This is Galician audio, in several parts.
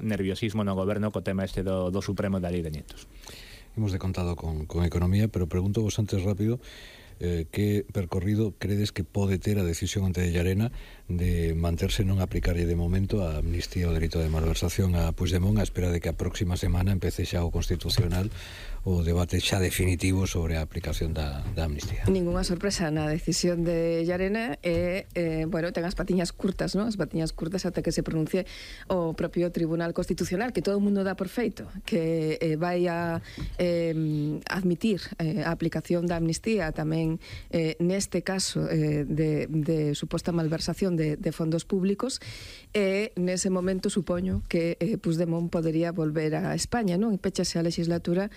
nerviosismo no goberno co tema este do Supremo da Lei de Nietos. Hemos de contado con economía, pero pregunto vos antes rápido que percorrido credes que pode ter a decisión ante de Llarena de manterse non aplicarlle de momento a amnistía o delito de malversación a Puigdemont a espera de que a próxima semana empece xa o Constitucional o debate xa definitivo sobre a aplicación da amnistía. Ninguna sorpresa na decisión de Llarena bueno, ten as patiñas curtas, non? As patiñas curtas ata que se pronuncie o propio Tribunal Constitucional, que todo o mundo dá por feito, que vai a admitir a aplicación da amnistía tamén neste caso de suposta malversación de fondos públicos, e nese momento supoño que Puigdemont podería volver a España, non? E pechase a legislatura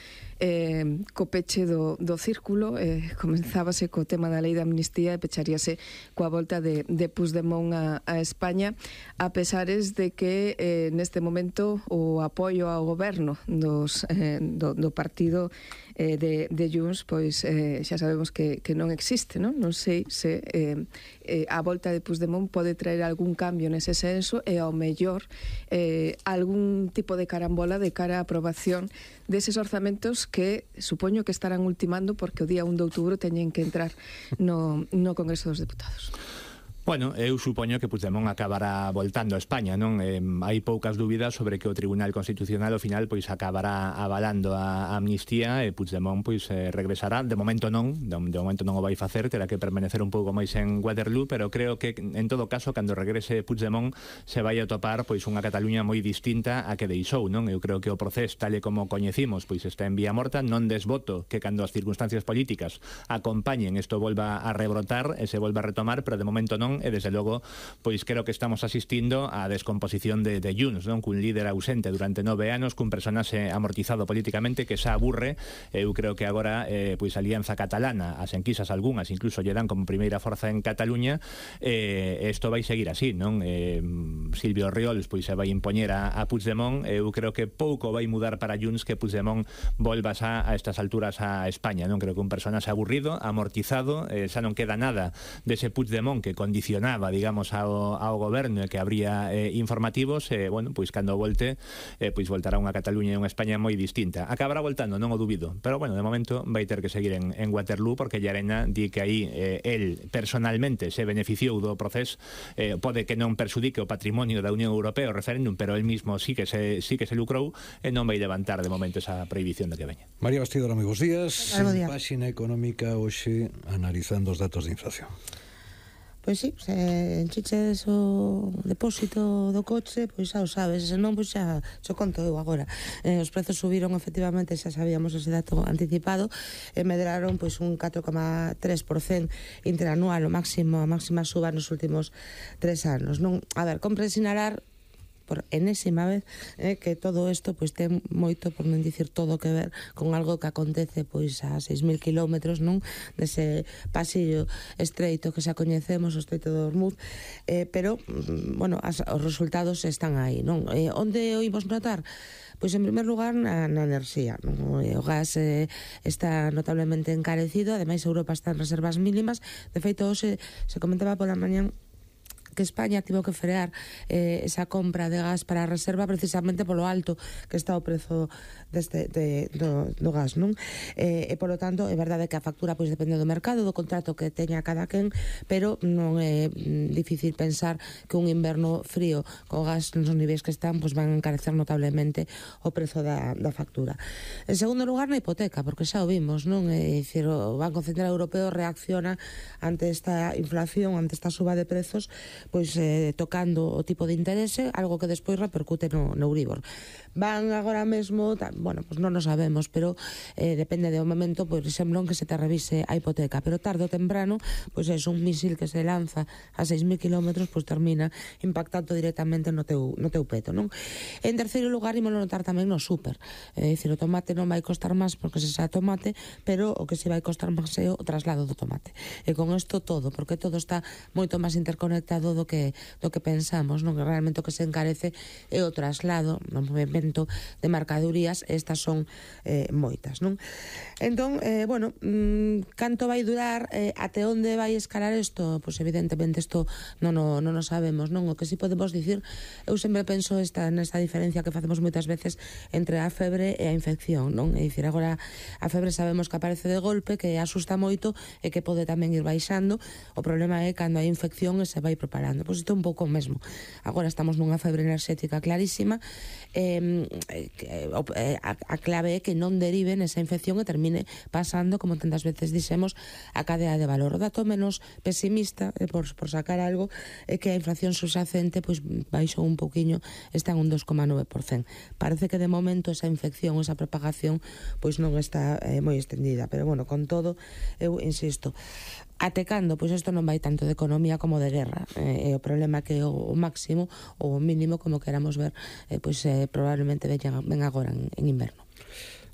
co peche do círculo, comenzábase co tema da lei de amnistía e pecharíase coa volta de Puigdemont a España, a pesares de que neste momento o apoio ao goberno do partido de Junts, pois xa sabemos que non existe, non? Non sei se a volta de Puigdemont pode traer algún cambio nese senso e ao mellor algún tipo de carambola de cara á aprobación deses orzamentos que supoño que estarán ultimando porque o día 1 de outubro teñen que entrar no Congreso dos Deputados. Bueno, eu supoño que Puigdemont acabará voltando a España, non? Hai poucas dúbidas sobre que o Tribunal Constitucional ao final pois acabará avalando a amnistía e Puigdemont pois regresará. De momento non o vai facer, terá que permanecer un pouco máis en Waterloo, pero creo que en todo caso cando regrese Puigdemont se vai a topar pois unha Cataluña moi distinta a que deixou, non? Eu creo que o proceso tal e como coñecimos pois está en vía morta, non desboto que cando as circunstancias políticas acompañen isto volva a rebrotar e se volva a retomar, pero de momento non. E desde logo, pois creo que estamos asistindo á descomposición de Junts, non? Cun líder ausente durante 9 anos, cun personaxe amortizado políticamente que xa aburre. Eu creo que agora pois a Alianza Catalana, as enquisas algunhas incluso lle dan como primeira forza en Cataluña, isto vai seguir así, non? Silvio Riols pois se vai impoñer a Puigdemont. Eu creo que pouco vai mudar para Junts que Puigdemont volva xa a estas alturas a España, non? Creo que un personaxe aburrido, amortizado, xa non queda nada dese Puigdemont que condicionaba, digamos, ao goberno e que habría informativos, bueno, pois cando volte, pois voltará unha Cataluña e unha España moi distinta. Acabará voltando, non o dubido, pero bueno, de momento vai ter que seguir en Waterloo porque Llarena di que aí el personalmente se beneficiou do proceso, pode que non perxudique o patrimonio da Unión Europea o referéndum, pero el mismo sí que se lucrou e non vai levantar de momento esa prohibición de que veña. María Bastidora, moi bons días. Páxina económica hoxe analizando os datos de inflación. Pois sí, se enchiches o depósito do coche, pois xa o sabes, se non, pois xa xo conto eu agora. Os prezos subiron, efectivamente, xa sabíamos ese dato anticipado, e medraron pois un 4,3% interanual, a máxima suba nos últimos 3 anos. Non, a ver, compre sinalar por enésima vez que todo isto pois ten moito, por non dicir todo, que ver con algo que acontece pois a 6.000 kilómetros, non? Dese pasillo estreito que xa coñecemos, o estreito de Hormuz, pero, bueno, os resultados están aí, non? Onde o imos notar? Pois en primer lugar na enerxía, non? O gas está notablemente encarecido, ademais Europa está en reservas mínimas. De feito, hoxe se comentaba pola mañá que España tivo que frear esa compra de gas para a reserva precisamente polo alto que está o prezo do gas, non? E polo tanto é verdade que a factura pois depende do mercado, do contrato que teña cada quen, pero non é difícil pensar que un inverno frío co gas nos niveis que están pois van a encarecer notablemente o prezo da factura. En segundo lugar, na hipoteca, porque xa o vimos, non? É dicir, o Banco Central Europeo reacciona ante esta inflación, ante esta suba de prezos, pois tocando o tipo de interese, algo que despois repercute no Euribor. Van agora mesmo, bueno, pois non o sabemos, pero depende do momento, por exemplo, en que se te revise a hipoteca, pero tarde ou temprano, pois é un misil que se lanza a 6.000 kilómetros, pois termina impactando directamente no teu peto, non? En terceiro lugar, ímolo notar tamén no súper, é dicir, o tomate non vai costar máis porque se xa tomate, pero o que se vai costar máis é o traslado do tomate. E con isto todo, porque todo está moito máis interconectado do que pensamos, non? Que realmente o que se encarece é o traslado no movimento de mercadorías, estas son moitas, non? Entón, bueno, canto vai durar, até onde vai escalar isto? Pois evidentemente isto non o sabemos, non? O que si podemos dicir, eu sempre penso nesta diferencia que facemos moitas veces entre a febre e a infección, non? É dicir, agora a febre sabemos que aparece de golpe, que asusta moito e que pode tamén ir baixando. O problema é cando hai infección e se vai propagando. Pois isto é un pouco o mesmo. Agora estamos nunha febre enerxética clarísima, a clave é que non derive nesa infección e termine pasando, como tantas veces dixemos, a cadea de valor. O dato menos pesimista, por sacar algo, é que a inflación subxacente pois baixou un pouquiño, está en un 2,9%. Parece que de momento esa infección, esa propagación, pois non está moi extendida, pero bueno, con todo, eu insisto, até cando, pois isto non vai tanto de economía como de guerra, e o problema que o máximo ou o mínimo, como queramos ver, pois probablemente ven agora en inverno.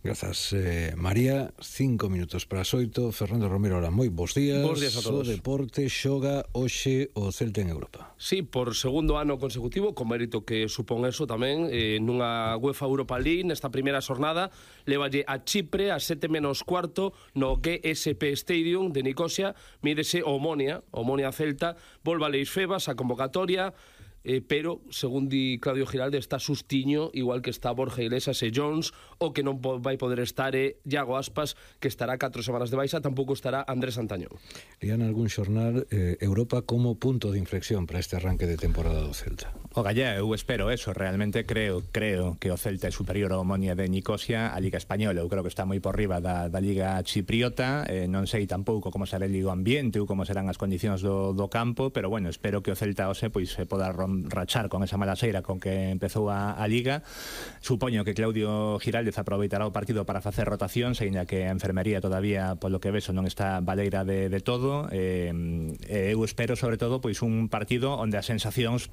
Grazas, María. 5 minutos para as 8. Fernando Romero, ahora moi bons días. Bons días a todos. O deporte xoga hoxe o Celta en Europa. Sí, por segundo ano consecutivo, con mérito que supón eso tamén, nunha UEFA Europa League, nesta primeira xornada, levalle a Chipre a 7:15 no GSP Stadium de Nicosia, mídese o Omonia Celta, volva a Leis Febas, a convocatoria, pero, según di Claudio Giralde, está sustiño, igual que está Borja Iglesias e Jones. O que non vai poder estar é Iago Aspas, que estará 4 semanas de baixa, tampouco estará Andrés Antañón. Lían algún xornal Europa como punto de inflexión para este arranque de temporada do Celta? O Gallá, eu espero eso, realmente creo que o Celta é superior ao Omonia de Nicosia a Liga Española. Eu creo que está moi por riba da Liga Chipriota, non sei tampouco como será o ambiente ou como serán as condicións do campo, pero bueno, espero que o Celta hoxe pois se poda rachar con esa mala xeira con que empezou a Liga. Supoño que Claudio Giraldez aproveitará o partido para facer rotacións, aínda que a enfermería todavía, polo que vexo, non está baleira de todo. Eu espero, sobre todo, pois un partido onde as sensacións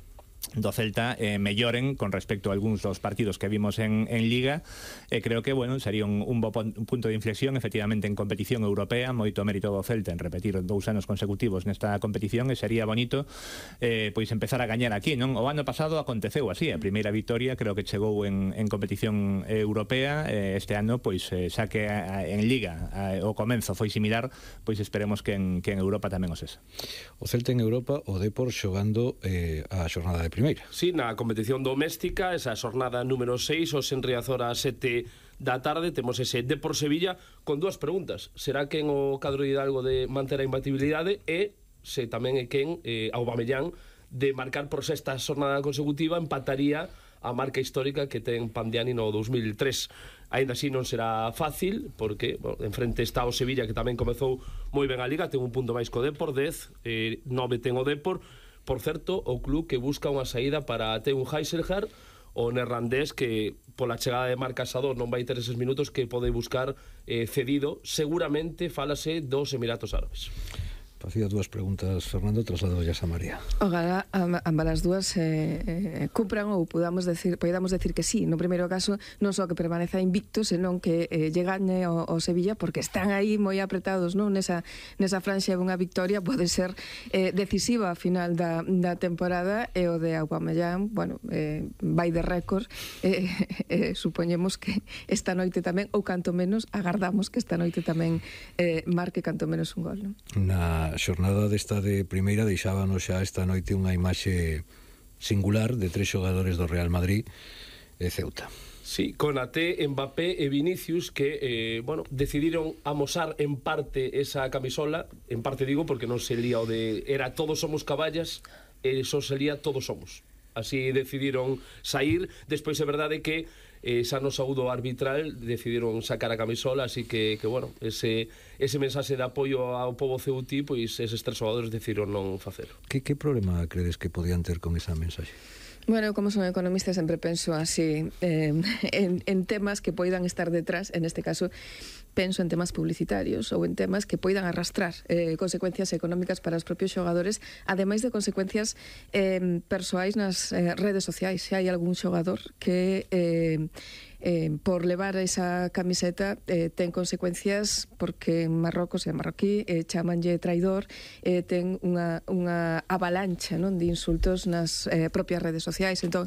do Celta melloren con respecto a algúns dos partidos que vimos en Liga, e creo que, bueno, sería un bo punto de inflexión efectivamente en competición europea. Moito mérito do Celta en repetir 2 anos consecutivos nesta competición, e sería bonito pois empezar a gañar aquí, non? O ano pasado aconteceu así, a primeira victoria creo que chegou en competición europea. Este ano, pois xa que en Liga o comenzo foi similar, pois esperemos que en Europa tamén o sexa. O Celta en Europa, o Depor xogando a xornada de primeira. Sí, na competición doméstica, esa xornada número 6, os en Riazor a 7 da tarde, temos ese Depor Sevilla con 2 preguntas. Será quen o cadro de Hidalgo de manter a imbatibilidade, e se tamén é quen Aubameyang de marcar por sexta xornada consecutiva empataría a marca histórica que ten Pandiani no 2003. Ainda así non será fácil, porque enfrente está o Sevilla, que tamén comezou moi ben a Liga, ten un punto máis co Depor, 10, 9 ten o Depor. Por certo, o club que busca unha saída para Teun Heiselhard, o neerlandés, que pola chegada de Marc Casador non vai ter eses minutos, que pode buscar cedido. Seguramente fálase dos Emiratos Árabes. Facía 2 preguntas, Fernando, traslado a María. Ojalá ambas as dúas cumpran, ou podamos decir que sí. No primeiro caso, non só que permaneza invicto, senón que lle gañe o Sevilla, porque están aí moi apretados, non? Nesa franxa, unha victoria pode ser decisiva a final da temporada, e o de Aubameyang, bueno, vai de récord, supoñemos que esta noite tamén, ou canto menos agardamos que esta noite tamén marque canto menos un gol, non? Na xornada desta de primeira deixábanos xa esta noite unha imaxe singular de 3 xogadores do Real Madrid e Ceuta. Sí, Konaté, Mbappé e Vinicius, que, decidiron amosar en parte esa camisola. En parte digo porque non se lía o de era todos somos caballas, e só se lía todos somos. Así decidiron sair. Despois é verdade que xa no saúdo arbitral decidiron sacar a camisola, así que bueno, ese mensaxe de apoio ao pobo ceutí, pois eses 3 xogadores decidiron non facelo. Que problema credes que podían ter con esa mensaxe? Bueno, como son economista, sempre penso así en temas que poidan estar detrás, en este caso penso en temas publicitarios ou en temas que poidan arrastrar consecuencias económicas para os propios xogadores, ademais de consecuencias persoais nas redes sociais. Se hai algún xogador que por levar esa camiseta ten consecuencias, porque en Marrocos e en marroquí chamanlle traidor, ten unha avalancha, non, de insultos nas propias redes sociais. Entón,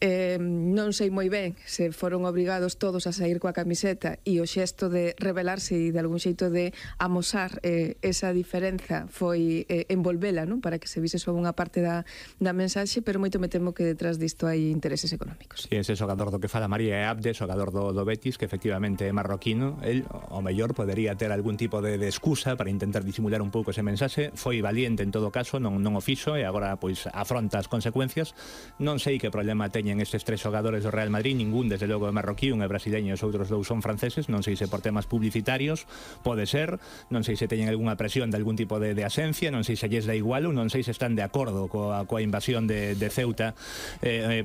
non sei moi ben se foron obrigados todos a sair coa camiseta e o xesto de rebelarse e de algún xeito de amosar esa diferenza foi envolvela, non, para que se vise só unha parte da mensaxe, pero moito me temo que detrás disto hai intereses económicos. Si ese xogador do que fala María é Abde, xogador do Betis, que efectivamente é marroquino. El, ao mellor, podería ter algún tipo de excusa para intentar disimular un pouco ese mensaxe. Foi valiente en todo caso, non o fixo, e agora pois afronta as consecuencias. Non sei que problema teñen estes tres xogadores do Real Madrid, ningún desde logo é marroquí, un é brasileño e os outros dous son franceses. Non sei se por temas publicitarios pode ser, non sei se teñen algunha presión de algún tipo de asencia, non sei se lles da igual ou non sei se están de acordo coa invasión de Ceuta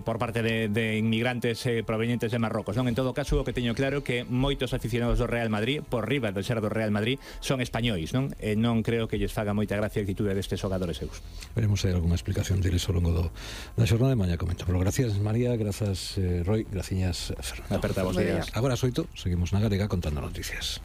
por parte de inmigrantes provenientes de Marrocos, non? En todo caso, o que teño claro é que moitos aficionados do Real Madrid, por riba do ser do Real Madrid, son españois, non? E non creo que lles faga moita gracia a actitude destes xogadores seus. Veremos se hai algunha explicación deles ao longo da xornada de mañá, comento. Pero gracias, María, grazas, Roy, graciñas, Fernando. Aperta vos días. Agora as 8, seguimos na Galega contando noticias.